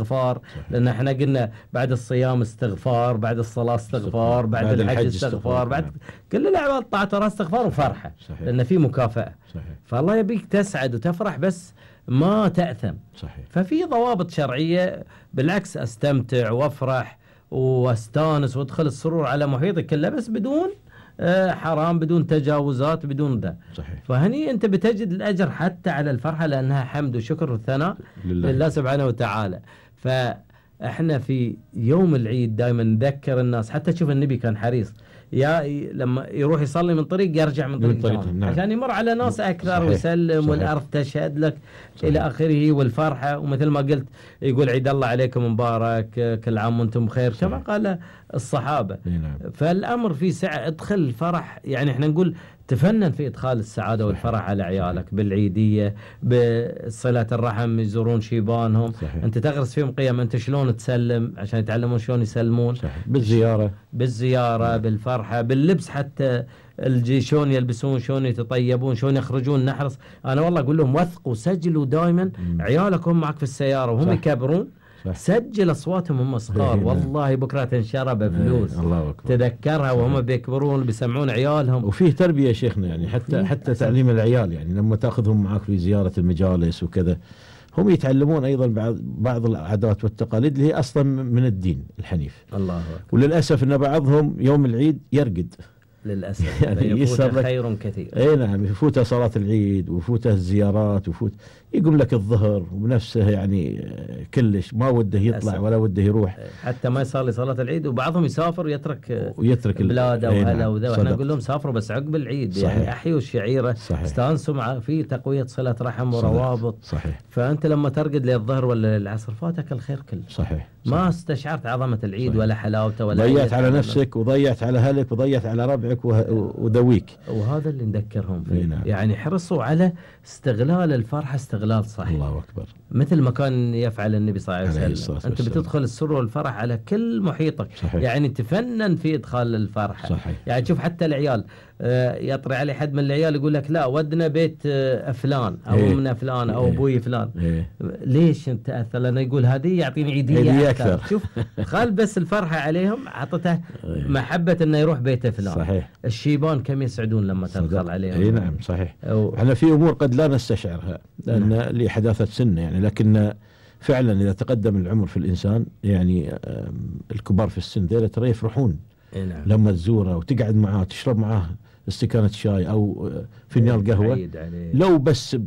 استغفار، صحيح. لأن احنا قلنا بعد الصيام استغفار، بعد الصلاة استغفار، بعد الحج استغفار، بعد كل الأعمال الطاعة ترى استغفار وفرحة. صحيح. لأن في مكافأة. صحيح. فالله يبيك تسعد وتفرح بس ما تأثم. صحيح. ففي ضوابط شرعية، بالعكس استمتع وافرح واستانس وادخل السرور على محيطي كله، بس بدون حرام، بدون تجاوزات، بدون ذا. صحيح. فهني انت بتجد الاجر حتى على الفرحة، لانها حمد وشكر وثناء لله سبحانه وتعالى. فاحنا في يوم العيد دائما نذكر الناس، حتى تشوف النبي كان حريص لما يروح يصلي من طريق يرجع من طريق نعم. عشان يمر على ناس أكثر. صحيح. ويسلم. صحيح. والأرض تشهد لك. صحيح. إلى آخره. والفرحة، ومثل ما قلت يقول عيد الله عليكم مبارك، كل عام وانتم بخير، كما قال الصحابة. نعم. فالأمر في سعة، ادخل الفرح. يعني احنا نقول تفنن في إدخال السعادة والفرح على عيالك، بالعيدية، بصلة الرحم، يزورون شيبانهم. صحيح. أنت تغرس فيهم قيم، أنت شلون تسلم عشان يتعلمون شلون يسلمون. صحيح. بالزيارة بالفرحة، باللبس، حتى شلون يلبسون، شلون يتطيبون، شلون يخرجون. نحرص. أنا والله أقول لهم وثقوا، سجلوا دائما عيالك هم معك في السيارة وهم يكبرون. سجل أصواتهم هم صغار. والله بكرة تنشرى بفلوس. تذكرها وهم بيكبرون بيسمعون عيالهم. وفيه تربية شيخنا، يعني حتى تعليم العيال، يعني لما تأخذهم معك في زيارة المجالس وكذا، هم يتعلمون أيضا بعض العادات والتقاليد اللي هي أصلا من الدين الحنيف. الله. وللأسف أن بعضهم يوم العيد يرقد للأسف. يعني يفوت خير كثير. اي نعم، يفوته صلاة العيد ويفوته الزيارات يقوم لك الظهر وبنفسه يعني كلش ما وده يطلع للأسف. ولا وده يروح، حتى ما يصلي صلاة العيد. وبعضهم يسافر ويترك بلاده وهلا وذا. واحنا نقول لهم سافروا بس عقب العيد. صحيح. يعني احيوا الشعيرة، استانسوا في تقوية صلة رحم وروابط. صحيح. فأنت لما ترقد للظهر ولا العصر فاتك الخير كله. صحيح. ما استشعرت عظمة العيد. صحيح. ولا حلاوته ولا ضيعت على نفسك وضيعت على أهلك وضيعت على ربعك وذويك. وهذا اللي نذكرهم فيه. نعم. يعني حرصوا على استغلال الفرحة استغلال صحيح. الله أكبر. مثل ما كان يفعل النبي صلى الله عليه وسلم. أنت بتدخل السر والفرح على كل محيطك. صحيح. يعني تفنن في إدخال الفرحة. صحيح. يعني تشوف حتى العيال يطري عليه حد من العيال يقول لك لا ودنا بيت فلان أو أمنا فلان أو أبوي فلان. ليش أنت أثر؟ لأنه يقول هذه يعطيني عيدية أكثر. شوف خال بس الفرحة عليهم عطته محبة أنه يروح بيته فلان. صحيح. الشيبان كم يسعدون لما تدخل عليهم. اي نعم صحيح. احنا في امور قد لا نستشعرها لان لحداثة سنة يعني، لكن فعلا اذا تقدم العمر في الانسان يعني الكبار في السن ذيلا ترى يفرحون. نعم. لما تزوره وتقعد معاه تشرب معاه استكانة شاي او فنجان قهوة، لو بس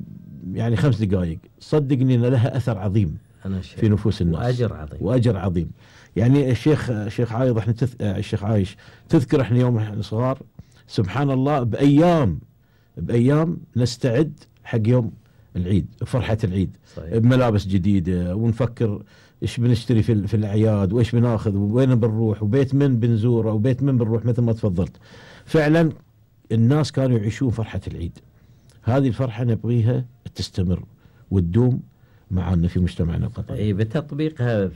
يعني 5 دقائق، صدقني ان لها اثر عظيم في نفوس الناس واجر عظيم. يعني الشيخ عايض احنا الشيخ عايش تذكر احنا يوم احنا صغار سبحان الله بأيام نستعد حق يوم العيد، فرحة العيد. صحيح. بملابس جديدة، ونفكر ايش بنشتري في الأعياد، وايش بناخذ، وين بنروح، وبيت من بنزوره، وبيت من بنروح، مثل ما تفضلت. فعلا الناس كانوا يعيشون فرحة العيد. هذه الفرحة نبغيها تستمر وتدوم معنا في مجتمعنا القطري. اي بتطبيقها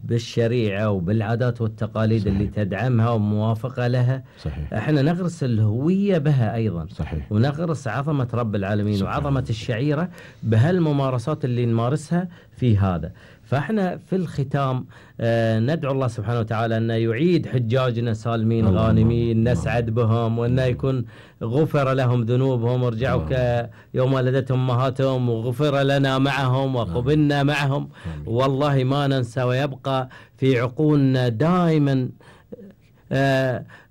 بالشريعة وبالعادات والتقاليد. صحيح. اللي تدعمها وموافقة لها. صحيح. احنا نغرس الهوية بها ايضا. صحيح. ونغرس عظمة رب العالمين. صحيح. وعظمة الشعيرة بهالممارسات اللي نمارسها في هذا. فاحنا في الختام ندعو الله سبحانه وتعالى أن يعيد حجاجنا سالمين غانمين، نسعد بهم، وأن يكون غفر لهم ذنوبهم ورجعوا كيوم ولدتهم أمهاتهم، وغفر لنا معهم وقبلنا معهم. والله ما ننسى، ويبقى في عقولنا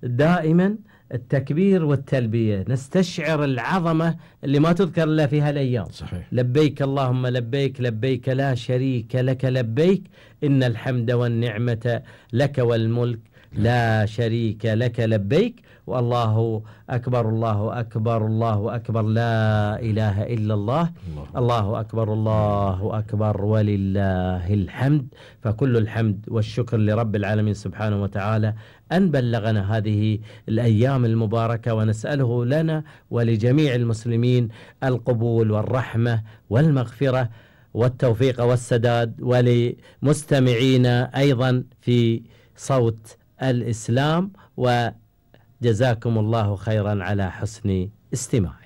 دائما التكبير والتلبية. نستشعر العظمة اللي ما تذكر إلا في هالأيام. صحيح. لبيك اللهم لبيك، لبيك لا شريك لك لبيك، إن الحمد والنعمة لك والملك لا شريك لك لبيك، والله أكبر الله أكبر الله أكبر لا إله إلا الله، الله أكبر الله أكبر ولله الحمد. فكل الحمد والشكر لرب العالمين سبحانه وتعالى أن بلغنا هذه الأيام المباركة، ونسأله لنا ولجميع المسلمين القبول والرحمة والمغفرة والتوفيق والسداد، ولمستمعينا أيضا في صوت الإسلام، وجزاكم الله خيرا على حسن استماع.